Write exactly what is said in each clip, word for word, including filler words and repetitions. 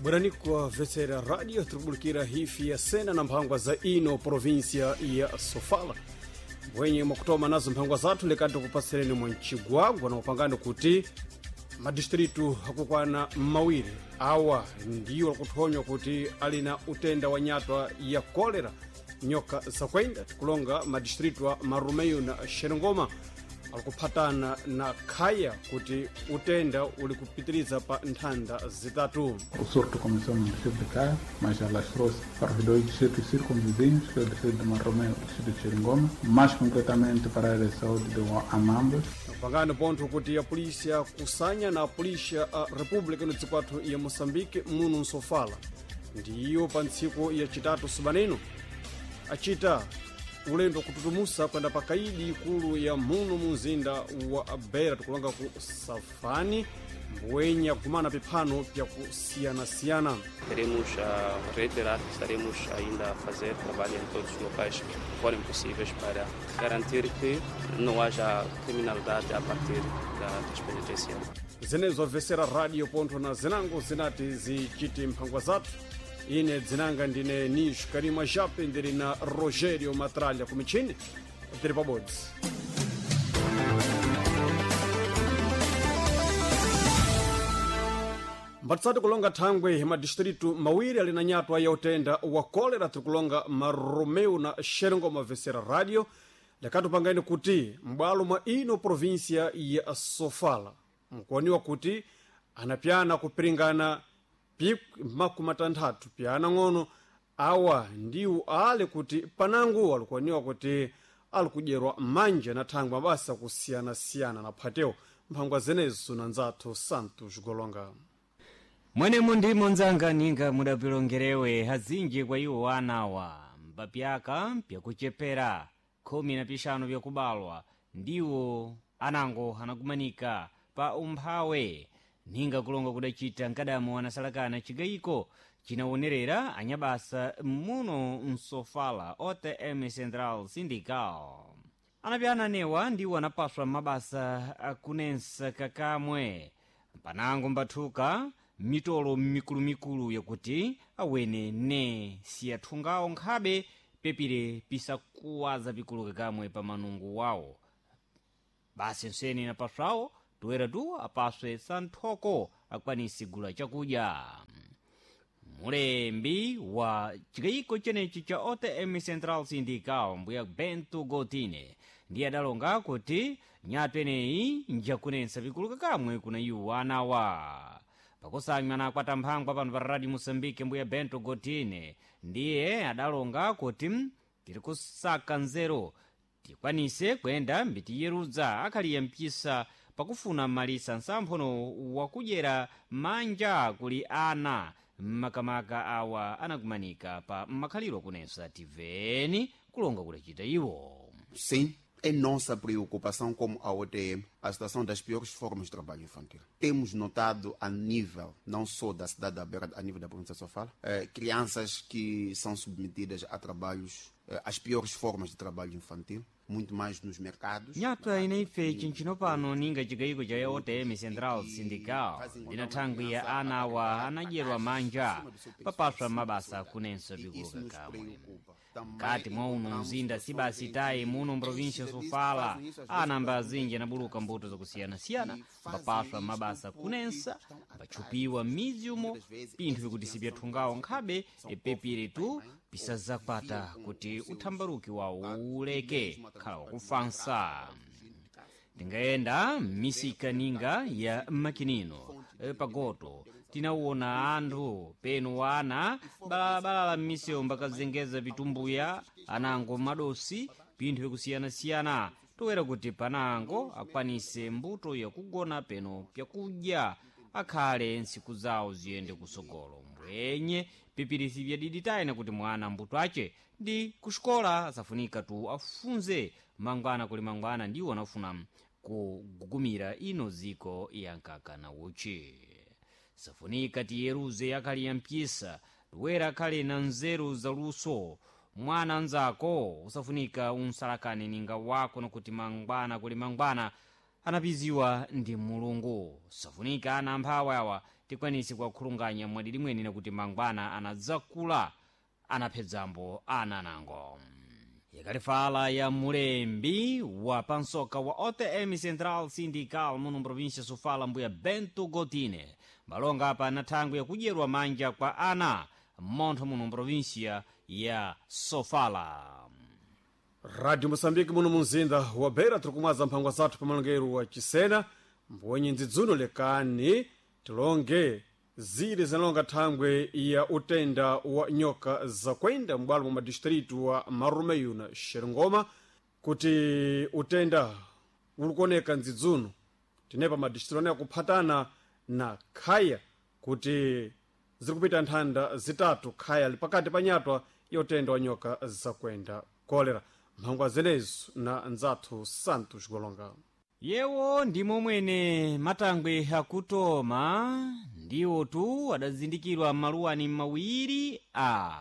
Bwerani kwa Vetsera Radio, tikubulikira hifi ya sena na mphangwa za ino provinsia ya Sofala. Mbwenye mwakutoma nazo mphangwa zathu lekati tikupatsereni mwa mchigwagwa na upangani kuti madistritu akukwana mawiri awa ndiwo akuthonywa kuti ali na utenda wa nyatwa ya kolera nyoka zakwenda. Tikulonga madistritu a Marumeyo na Xerengoma alikuphatana na khaya kuti utenda uli kupitiriza pa nthanda zitatu. O surto começou no distrito de Caia, mas alastrou-se para os dois distritos circunvizinhos, que é o distrito de Marromeu e o distrito de Xeringoma, mais concretamente para a área de saúde de Anambas. Pangano pontho kuti a polícia kusanya na a polícia a República no dziko athu ya Moçambique muno nsofala ndiyo pa ntsiku ya chitatu subaneno achita ulendo kututumusa kwenda pa kaidi ikulu ya muno mu mzinda wa Beira, tikulonga ku Safani mbwenya kumana piphano pyakusiyanasiyana. Queremos uh, reiterar que estaremos ainda a fazer trabalho em todos os locais que forem possíveis para garantir que não haja criminalidade a partir da, das penitenciárias. Zenezo Vesera Radio pontho na zinango zinati zichiti mphangwa zathu. Ine dzinanga ndine Nish Karima Jape, ndili na Rogério Matralha kumichini, tili pabodzi. Mbatisati kulonga thangwe madistritu mawiri ali na nyatwa ya utenda wa kolera, tirikulonga Maromeu na Xerengoma. Vesera Radio lekatupangani kuti m'bwalo mwa ino provinsia ya Sofala mkuoniwa kuti anapyana kupiringana pikwi makumi atanthatu pyana ng'ono awa ndiwo ali kuti panango alikuoniwa kuti alikudyerwa manja na thangwe mabasa kusiyanasiyana na phatewo mphangwa zenezo na nzathu Santos Golonga. Mwenemo ndimo nzanga ninga mudapilongerewe hazinji kwa iwo anawa mbapyaka pyakuchepera khumi na pixanu pyakubalwa ndiwo anango anakumanika pa umphawe ninga kulonga kudacita nkadamo anasalakana cigayiko cinawonerera anyabasa muno msofala O T M Central Sindical. Anapyana newa ndiwo anapaswa mabasa akunensa kakamwe mpanango mbathuka mitolo mikulumikulu yakuti awene ne siyathungawo nkhabe pepire pisakuwaza pikulu kakamwe pa manungu wawo. Basi nsene napaswawo toera tu apaswe santhoko akwanise gula chakudya. Mulembi wa chikayiko chenechi cha O T M Central Sindical, mbuya Bento Gotine, ndiye adalonga kuti nyatu eneyi njakunensa pikulu kakamwe kuna iwo anawa. Pakusanywa nakwata mphangwa pano pa Radio Moçambique, mbuya Bento Gotine ndiye adalonga kuti tiri kusaka nzeru tikwanise kuyenda mbitiyerudza akhaliya mpisa pakufuna malisa nsamphono wakudyera manja kuli ana mmakamaka awa anakumanika pa makhaliro kunensa. Tiveni kulonga kudacita iwo. Sim, é nossa preocupação como a O T M a situação das piores formas de trabalho infantil. Temos notado a nível, não só da cidade da Beira, a nível da província de Sofala, eh, crianças que são submetidas a trabalhos, eh, as piores formas de trabalho infantil, muito mais nos mercados. Nyatwa inaife chinchino pano ninga chigayiko cha O T M Central Sindical ndina thangwi ya ana awa anadyerwa manja papaswa mabasa kunenso pikuluka kamwe mkati mwa uno mzinda sibasi tayi muno mprovinsia Sofala. Anamba azinji anabuluka mbuto zakusiyanasiyana mbapaswa mabasa kunensa mbatchupiwa m'mizi umo pinthu vikuti sipyathungawo nkhabe epepire tu pisazakwata kuti uthambaruki wawo uleke khala wakufansa. Tingayenda m'misika ninga ya makinino e, pagoto tinawona anthu penu wana balalabalala m'misewu mbakazengeza pitumbuya anango madosi pinthu vyakusiyanasiyana toera kuti panango akwanise mbuto yakugona peno pyakudya akhale ntsiku zawo ziyende kusogolo mbwenye pipirisi vyadiditayina kuti mwana mbuto ace ndi kuxikola asafunika tu afunze mangwana kuli mangwana ndiwo anafuna kugugumira ino ziko ya nkaka na uchi. Safunika tiyeruze akhali ya mpyisa toera akhale na nzeru zaluso. Mwana anzako usafunika unsalakane ninga wako nokuti mangwana kuli mangwana. anapiziwa ndi Mulungu. Safunika ana amphawi awa tikwanise kuwakhulunganya mwadidi mwene nakuti mangwana anadzakula anaphedzambo ananango. Yakalifala ya mulembi wa pansoka wa O T M Central Sindical muno mprovinsia Sofala, mbuya Bento Gotine, malonga apa na thangwi yakudyerwa manja kwa ana mmontho muno mprovinsia ya Sofala. Radio Moçambique muno munzinda wa Beira, tiri kumwaza mphangwa zathu pamalongero wa Chisena. Mbwenye ndzidzuno lekani tilonge zili zinalonga thangwe ya utenda wa nyoka zakwenda m'bwalo mwa madistritu wa Marumeyu na Xerengoma, kuti utenda ulikuoneka ndzidzuno tinepa madistritu ane akuphatana na Khaya, kuti ziri kupita nthanda zitatu Khaya li pakati pa nyatwa ya utenda wa nyoka zakwenda kolera. Mphangwa zenezo na nzathu Santos Golonga. Yewo ndimo mwene matangwe akutoma ndiwo tu adazindikirwa maluwani mawiri a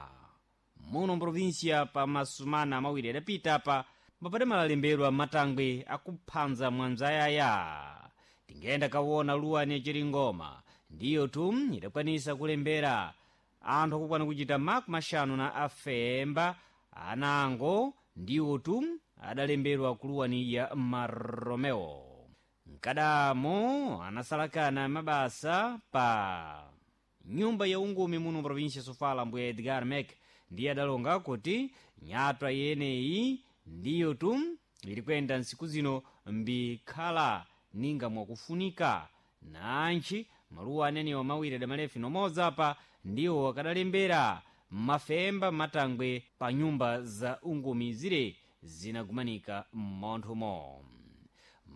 muno mprovinsia pa masumana mawiri adapita apa mapade malalembedwa matangwe akuphanza mwanzayaya. Tingenda kawona luwani yachiringoma ndiyo tu idakwanisa kulembera anthu akukwana kuchita makumi axanu na afemba anango ndiwo tu adalembedwa kuluwani ya Maromeo. Mkadamo anasalakana mabasa pa nyumba ya ungumi muno provinsia Sofala, mbuya Edgar Mek ndiye adalonga kuti nyatwa yeneyi ndiyo tu ili kuyenda ntsiku zino mbikhala ninga mwakufunika nantchi maluwa anenewa mawiri adamalefi nomodzi apa ndiwo akadalembera mafemba matangwe pa nyumba za ungumi zire zinagumanika mmonthomo.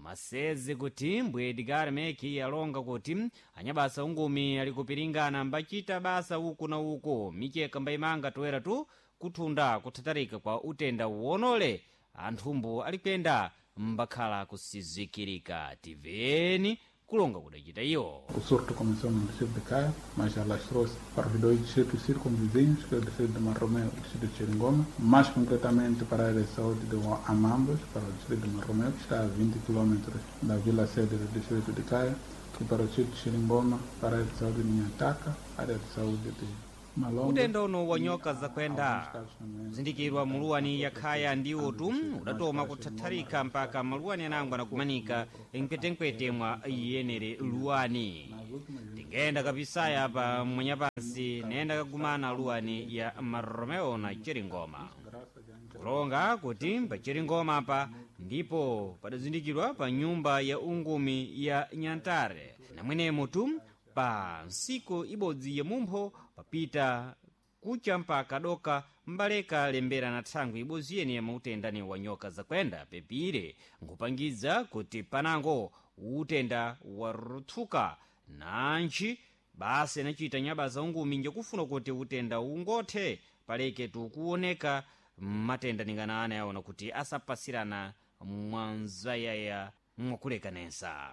Maseze kuti mbuye Edgar Meki alonga kuti anyabasa ungumi ali kupiringana mbachita basa uku na uku micheka mbayimanga toera tu kuthunda kuthatarika kwa utenda wonole anthumbu ali kuyenda mbakhala kusizikirika. Tiveni kulonga kudachita iwo. O surto começou no distrito de Caia, mas alastrou-se para os dois distritos circunvizinhos, que é o distrito de Marromeu e o distrito de Xeringoma, mais concretamente para a área de saúde de Amambos, para o distrito de Marromeu, que está a vinte quilômetros da vila sede do distrito de Caia, e para o distrito de Xeringoma, para a área de saúde de Nhataka, área de saúde de Malombe. Utenda uno wa nyoka zakwenda kuzindikirwa muluwani ya Khaya ndiwo tu udatoma kuthatharika mpaka maluwani anango anakumanika mkwetenkwete mwa iyenere luwani. Tingenda kapisaya pa mwanyapansi nayenda kagumana luwani ya Maromeo na Cheringoma, kulonga kuti pa Cheringoma apa ndipo padazindikirwa pa nyumba ya ungumi ya Nyantare namwenemo tu pa nsiku ibodzi ya mumpho papita kucha mpaka doka mbaleka lembera na thangwi ibodzi yene ya mautendani wa nyoka zakwenda pepire nkupangiza kuti panango utenda waruthuka nantchi basi anachita nyabasa ungumi njekufuna kuti utenda ungothe paleke tukuoneka matenda ningana ana yaona kuti asapasirana mwanzayaya mwakulekanesa.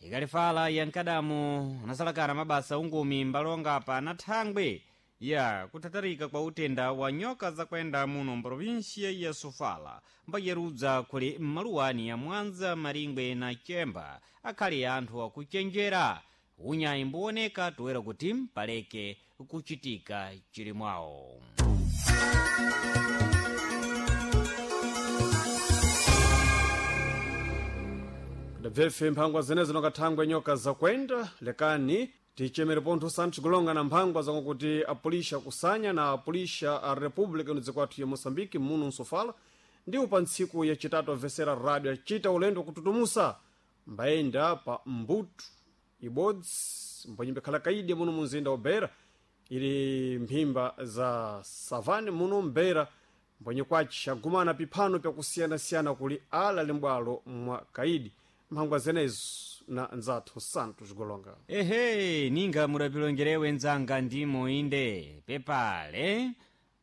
Ikalifala yankadamu anasalakana mabasa ungumi mbalonga pa na thangwi ya kuthatarika kwa utenda wa nyoka zakwenda muno mprovinsia ya Sofala mbayerudza kuli mmaluwani ya Mwanza, Maringwe na Chemba akhali anthu akuchenjera unyayi mbuoneka toera kuti paleke kuchitika chilimwawo. Ndabvefe mphangwa zenezo nonga nyoka zakwenda. Lekani tichemere pontho Santos Golonga na mphangwa zakuti apulisha kusanya na apulisha a República ino kwathu ya Moçambique muno Nsofala ndiwo pa ntsiku yacitatu avesera rádio acita ulendo kututumusa mbayenda pa mbutu ibodzi mbwenye mbikhala kaidi muno munzinda wa Beira ili mphimba za savane muno Mbeira mbwenye kwaci agumana piphano pyakusiyanasiyana kuli ala limbwalo mwa kaidi. Mphangwa zenezo na nzathu Santos Golonga. Ehe, ninga mudapilongerewe nzanga ndimo inde pepale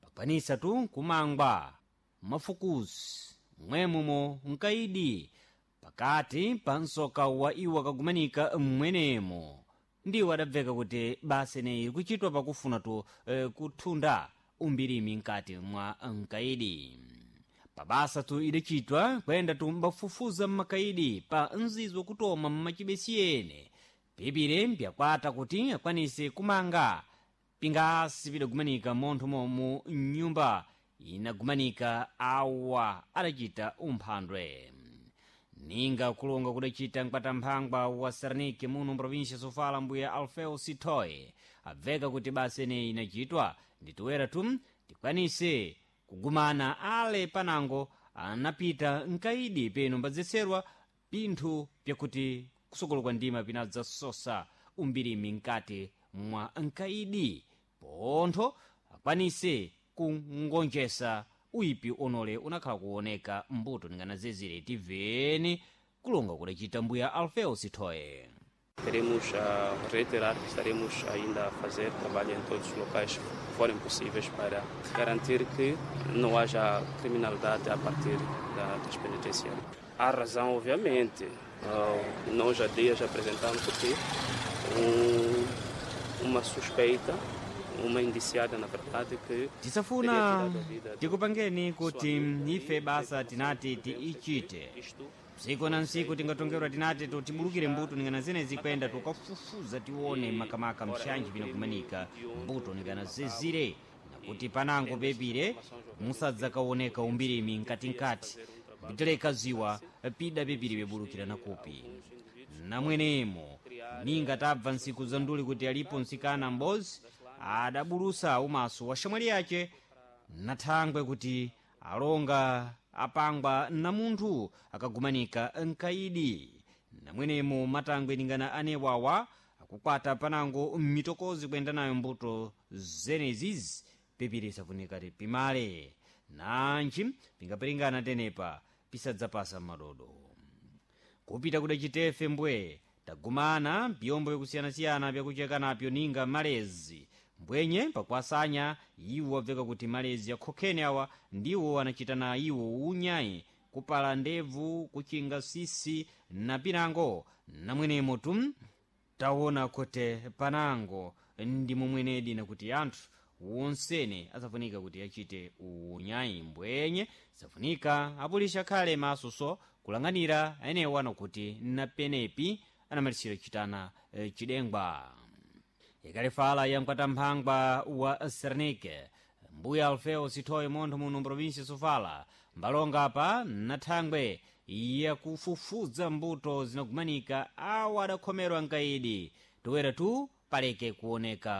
pakwanisa tu kumangwa mafukusi mwemumo nkaidi pakati pa msoka wa iwo akagumanika mmwenemo ndiwo adabveka kuti basa ineyi ikuchitwa pakufuna tu eh, kuthunda umbirimi mkati mwa nkaidi. Pabasa tu idacitwa kuyenda tumbafufuza mmakaidi pa nzizo kutoma mmachibesi ene pipire mpyakwata kuti akwanise kumanga pingasi pidagumanika montho momu mnyumba inagumanika awa adacita umphandwe. Ninga kulonga kudacita mkwatamphangwa wa Sarnike muno mprovinsia Sofala, mbuya Alfeo Sitoe abveka kuti basa eneyi inacitwa nditoera tu tikwanise kugumana ale panango anapita nkaidi peno mbadzetserwa pinthu pyakuti kusokolo kwa ndima pinadzasosa umbirimi mkati mwa nkaidi pontho akwanise kungonjesa uipi onole unakhala kuoneka mbuto ninganazezere tiveni kulonga kudacita mbuya Alfeo Sitoe. Queremos uh, reiterar que estaremos ainda a fazer trabalho em todos os locais que forem possíveis para garantir que não haja criminalidade a partir da, das penitenciárias. Há razão, obviamente. Uh, nós há dias apresentamos aqui um, uma suspeita, uma indiciada, na verdade, que Tisafuna tikupangeni kuti ife basa tinati tiichite tsiku na ntsiku tingatongerwa tinati tibulukire mbuto ningana zenezi kwenda tukafufuza tione makamaka mshanji pinakumanika mbuto ningana zezire nakuti panango pepire musadzakaoneka umbirimi mkatikati mbiteleka ziwa pida pepire pebulukira nakupi namwenemo ninga tabva ntsiku za nduli kuti alipo mtsikana m'bozi adabulusa umaso wa shamwali yace nathangwe kuti alonga apangwa na munthu akagumanika nkaidi. Namwenemo matangwe ningana anewawa akukwata panango mmitokozi kuyenda nayo mbuto zenezizi pepire isafunika pimale nanji pingapiringana tenepa pisadzapasa madodo. Kupita kuda chitefe mbwe tagumana mpiyombo yakusiyanasiyana pyakucheka napyo ninga malezi mbwenye pakuasanya iwo abveka kuti malezi akhokhene awa ndiwo anachita na iwo unyayi kupala ndebvu kuchinga sisi na pinango. Namwenemo tum taona kuti panango ndi momwenedi nakuti anthu wonsene asafunika kuti achite unyayi mbwenye safunika apulisha akhale masoso kulang'anira aenewa nakuti napenepi anamalisira chitana eh, chidengwa. Ikalifala ya mkwatamphangwa wa Sernike mbuya Alfeo Sithoyi montho muno mprovinsia Sofala mbalonga apa nathangwe yakufufuza mbuto zinagumanika awa adakhomerwa nkaidi toera tu paleke kuoneka.